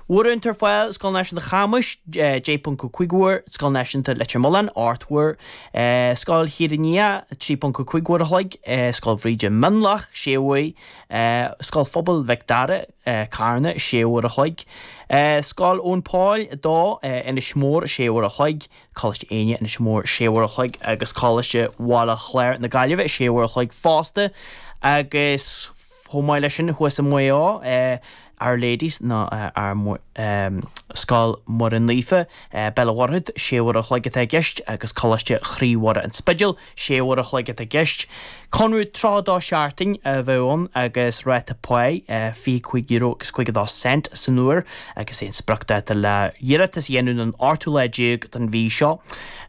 Uaireanta ar fáil, Scoil Náisiúnta Chamuis, 10.5 uair, Scoil Náisiúnta Leitir Mealláin, 8 uair, Scoil Thír an Fhia, 3.5 uair a chloig, Scoil Bhríde Mionlach, 6 uair, Scoil Phobail Mhic Dara, Carna, 6 uair a chloig, Scoil Eoin Pól 2, Inis Mór, 6 uair a chloig, Coláiste Éinne, Inis Mór, 6 uair a chloig agus Coláiste Bhaile Chláir na Gaillimhe, 6 uair a chloig fosta agus chomh maith leis sin thuas i Maigh Eo, Our Lady's nó Scoil Mhuire Naofa, Béal an Mhuirthead, 6 uair a chloig atá i gceist agus Coláiste Chroí Mhuire An Spidéal, 6 uair a chloig atá i gceist. Conradh 32 seachtain a bheadh ann agus ráta páí €25 agus 52 cent san uair agus é an spriocdáta le hiarratas a dhéanamh ná an ochtú lá déag den mhí seo,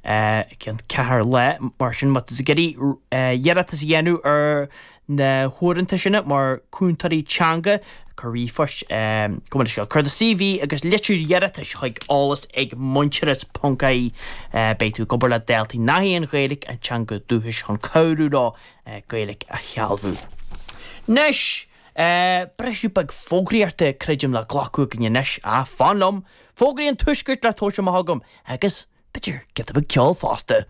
i gceann ceathair lá. Mar sin má tá tú ag iarraidh iarratas a dhéanamh ar na huaireanta sin mar cúntóirí teanga, cuir ríomhphost, gabh mo leithscéal, cuir do CV agus litir iarratais chuig eolas ag muintearas ponc ie. Beidh tú ag obair le daltaí nach í an Ghaeilge a dteanga dúchais chun cabhrú leo Gaeilge a shealbhú. Anois, briseadh beag fógraíochta, creidim, le glacadh againn anois. Á, fan liom! Fógraí an Tuaiscirt le tabhairt amach agam agus, b'fhéidir, giota beag ceoil fosta.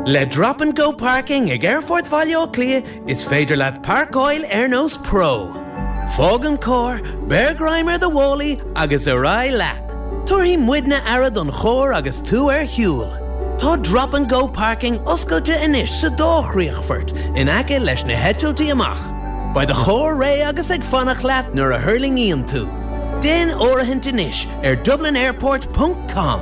Le Drop and Go Parking ag Aerfort Bhaile Átha Cliath is féidir leat páirceáil ar nós pro. Fág an carr, beir greim ar do mhálaí agus ar aghaidh leat! Tabharfaidh muidne aire don charr agus tú ar shiúl. Tá Drop and Go Parking oscailte anois sa dá chríochfort in aice leis na heitiltí amach. Beidh do charr réidh agus ag fanacht leat nuair a thuirlingíonn tú. Déan áirithint anois ar dublinairport ponc com.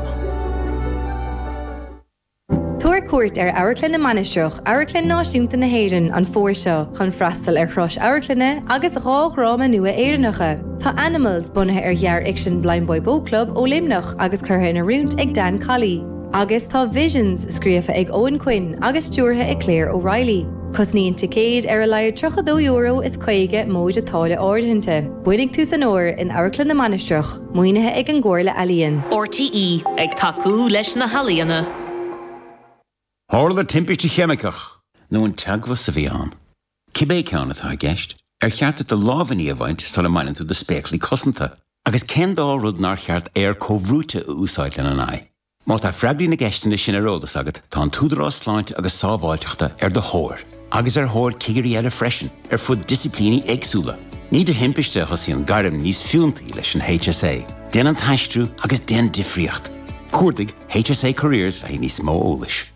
Tabhair cuairt ar Amharclann na Mainistreach, Amharclann Náisiúnta na hÉireann, an fómhar seo chun freastal ar thuras amharclainne agus 2 dhráma nua Éireannacha. Tá Animals, bunaithe ar ghearrfhicsean Blindboy Boatclub ó Luimneach agus curtha in oiriúint ag Dan Colley. Agus tá Visions, scríofa ag Eoghan Quinn agus stiúrtha ag Claire O'Reilly. Cosnaíonn ticéid ar a laghad €32 is 50 móide táille áirithinte. Bainfidh tús an fhómhair in Amharclann na Mainistreach, maoinithe ag an gComhairle Ealaíon. RTÉ, ag tacú leis na healaíona. Tharla timpiste cheimiceach. Nó an teagmhas a bhí ann? Cibé ceann atá i gceist, ar cheart duit do lámhainní a bhaint sula mbaineann tú do spéaclaí cosanta? Agus cén dá rud nár cheart aer comhbhrúite a úsáid lena n-aghaidh? Má tá freagraí na gceisteanna sin ar eolas agat, tá an tÚdarás Sláinte agus Sábháilteachta ar do thóir, agus ar thóir cigirí eile freisin, ar fud disciplíní éagsúla. Ní de thimpiste a thosaíonn gairm níos fiúntaí leis an HSA. Déan an t-aistriú agus déan difríocht! Cuardaigh HSA Careers le haghaidh níos mó eolais.